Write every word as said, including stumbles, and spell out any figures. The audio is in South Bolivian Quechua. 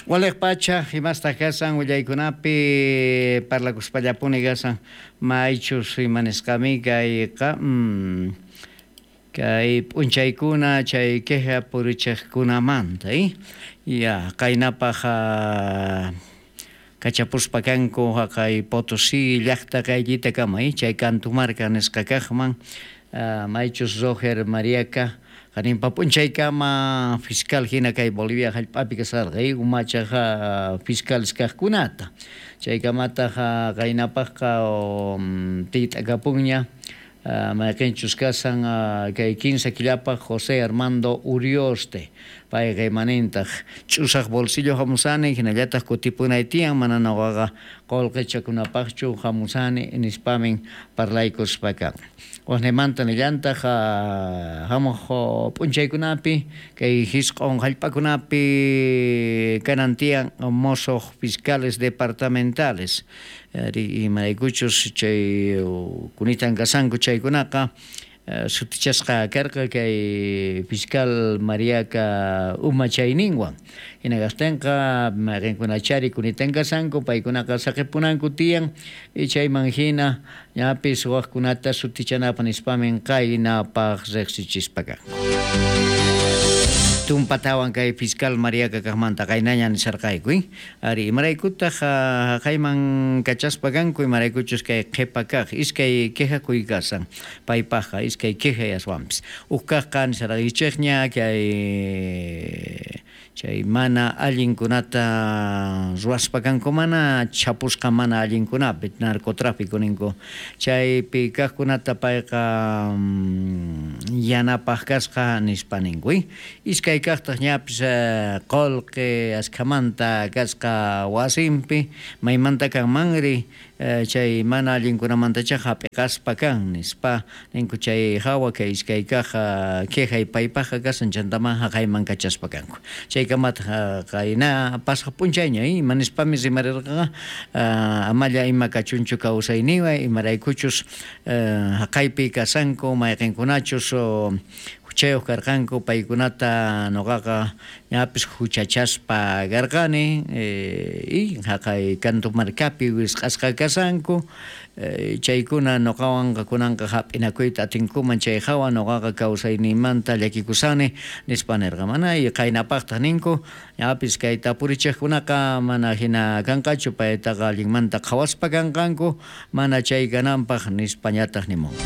Waliq pacha imastaq kasan willaykunapi parlakuspallapuni kasan maychus imanisqami kayqa mm, kay p'unchaykuna chay queja purichiqkunamanta eh? Ya qaynapaq kachapuspa kanku haqay Potosí llaqta qayllitakama eh? Chay Cantumarca nisqa kaqman maychus Roger Mariaca qaninpa p'unchaykama fiscal hina kay Bolivia hallp'api kasarqa eh? Umachaq fiscales kaqkunata chaykamataq qaynapaqqa tiyt'akapunña mayqinchus kasan kay kinsa killapaq José Armando Urioste payqa imanintaq ch'usaq bolsillo hamusani hinallataq kutipunay tiyan mana nuqaqa qullqichakunapaqchu hamusani nispamin parlaykuspa kan. Waqnimanta nillantaq hamuq p'unchaykunapi kay hisq'un hallp'akunapi kanan tiyan mosuq fiscales departamentales imaraykuchus chay kunitan kasanku chaykunaqa sutichasqa karqa kay fiscal Mariaca umachayninwan hina kaqtinqa mayqinkunachari kunitan kasanku paykunaqa saqipunanku tiyan chayman hina ñapis waqkunata sutichanapaq nispamin qaynapaq riqsichispa kanku. Tumpatawan kay fiscal Mariaca kaqmanta qaynaña nisarqayku eh? Ari imaraykutaq haqayman kachaspa kanku imaraykuchus kay qhipa kaq iskay quejakuy kasan paypaqqa iskay queja aswanpis huk kaqqa nisarqaykichikña kay chay mana allinkunata ruwaspa kanku mana chapusqa mana allinkunapi narcotráfico ninku chaypi kaqkunata payqa yanapaq kasqa nispa ninku eh? Iskay kaqtaq ñapis qullqi askhamanta kasqa wasinpi maymanta kanmanri chay mana allinkunamantacha hap'iqaspa kan nispa ninku chay hawa kay iskay kaq quejay paypaqqa kasan chantaman haqayman kachaspa kanku chaykamataq qayna pasaq p'unchayña ima nispami rimarirqaqa amalla ima kachunchu kawsayniwan imaraykuchus haqaypi kasanku mayqinkunachus huchayuq karqanku paykunata nuqaqa ñapis huchachaspa karqani y haqay Cantumarcapi wisq'asqa kasanku chaykuna nuqawanqa kunanqa hap'inakuyta atinkuman chay hawa nuqaqa kawsayniymanta llakikusani nispa nirqa mana y qaynapaqtaq ninku ñapis kay tapurichiqkunaqa mana hina kanqachu paytaqa allinmanta qhawaspa kanqanku mana chay kananpaq nispañataq nimun.